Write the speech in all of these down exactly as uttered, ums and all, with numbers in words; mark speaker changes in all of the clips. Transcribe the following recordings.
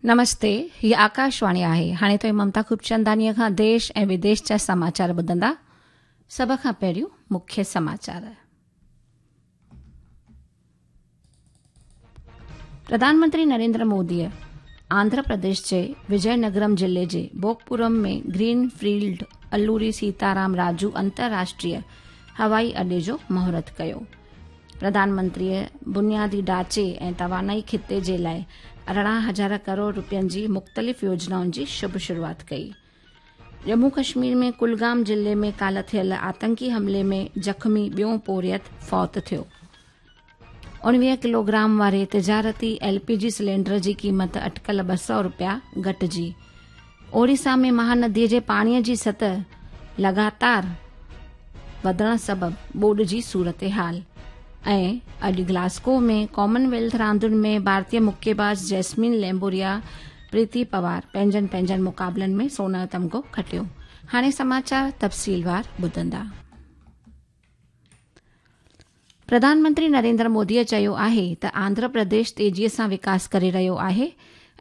Speaker 1: नमस्ते, ही आकाशवाणी आहे। हाणे तो ममता खूबचंदानीअ खां देश ऐं विदेश जा समाचार ॿुधंदा। सभ खां पहिरियों मुख्य समाचार। प्रधानमंत्री नरेंद्र मोदीअ आंध्र प्रदेश जे विजयनगरम ज़िले जे भोगपुरम में ग्रीन फील्ड अलूरी सीताराम राजू अंतर्राष्ट्रीय हवाई अॾे जो मुहूर्त कयो। प्रधानमंत्रीअ बुनियादी ढांचे ऐं तवानाई ख़िते जे लाइ अरिड़हं हज़ार करोड़ रुपयनि जी मुख़्तलिफ़ योजनाउनि जी शुभ शुरूआत कई। जम्मू कश्मीर में कुलगाम ज़िले में काल्ह थियल आतंकी हमले में ज़ख़्मी ॿियो पोरियत फौत थियो। उणिवीह किलोग्राम वारे तिजारती एल पी जी सिलेंडर जी क़ीमत अटकल ॿ सौ रुपया घटिजी। ओडिशा में महानदीअ जे पाणीअ जी सतह लगातार वधण सबबि ॿोॾ जी सूरत हाल। ऐं अॼु ग्लासगो में कॉमनवेल्थ रांदियुनि में भारतीय मुक्केबाज़ जैस्मीन लैम्बोरिया प्रीति पवार पंहिंजनि पंहिंजनि मुक़ाबलनि में सोन जो तमगो खटियो। हाणे समाचार तफ़सीलवार ॿुधंदा। प्रधानमंत्री नरेंद्र मोदीअ चयो आहे त आंध्र प्रदेश तेज़ीअ सां विकास करे रहियो आहे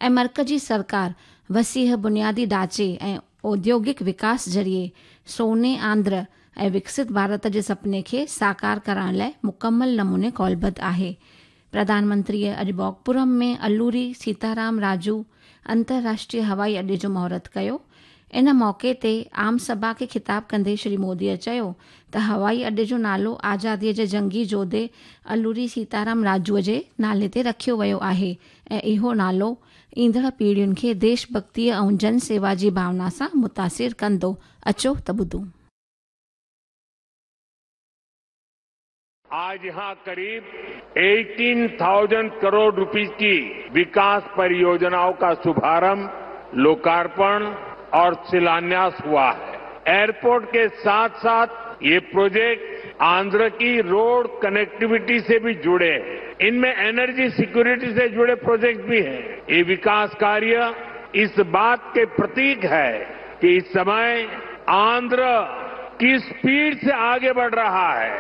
Speaker 1: ऐं मर्कज़ी सरकार वसीह बुनियादी ढांचे ऐं औद्योगिक विकास ज़रिए सोने आंध्र ऐं विकसित भारत जे सपने खे साकार करण लाइ मुकमल नमूने कौलबद्ध आहे। प्रधानमंत्रीअ अॼु भोगपुरम में अलूरी सीताराम राजू अंतर्राष्ट्रीय हवाई अॾे जो मुहूर्त कयो। इन मौक़े ते आम सभा खे ख़िताब कंदे श्री मोदीअ चयो त हवाई अॾे जो नालो आज़ादीअ जे जंगी जोधे अलूरी सीताराम राजूअ जे नाले ते रखियो वियो आहे ऐं इहो नालो ईंदड़ पीढ़ियुनि खे देशभक्तीअ ऐं जन सेवा जी भावना सां मुतासिर कंदो। अचो त ॿुधूं।
Speaker 2: आज यहाँ करीब अठारह हज़ार करोड़ रुपए की विकास परियोजनाओं का शुभारंभ, लोकार्पण और शिलान्यास हुआ है। एयरपोर्ट के साथ साथ ये प्रोजेक्ट आंध्र की रोड कनेक्टिविटी से भी जुड़े हैं। इनमें एनर्जी सिक्योरिटी से जुड़े प्रोजेक्ट भी हैं। ये विकास कार्य इस बात के प्रतीक है कि इस समय आंध्र की स्पीड से आगे बढ़ रहा है।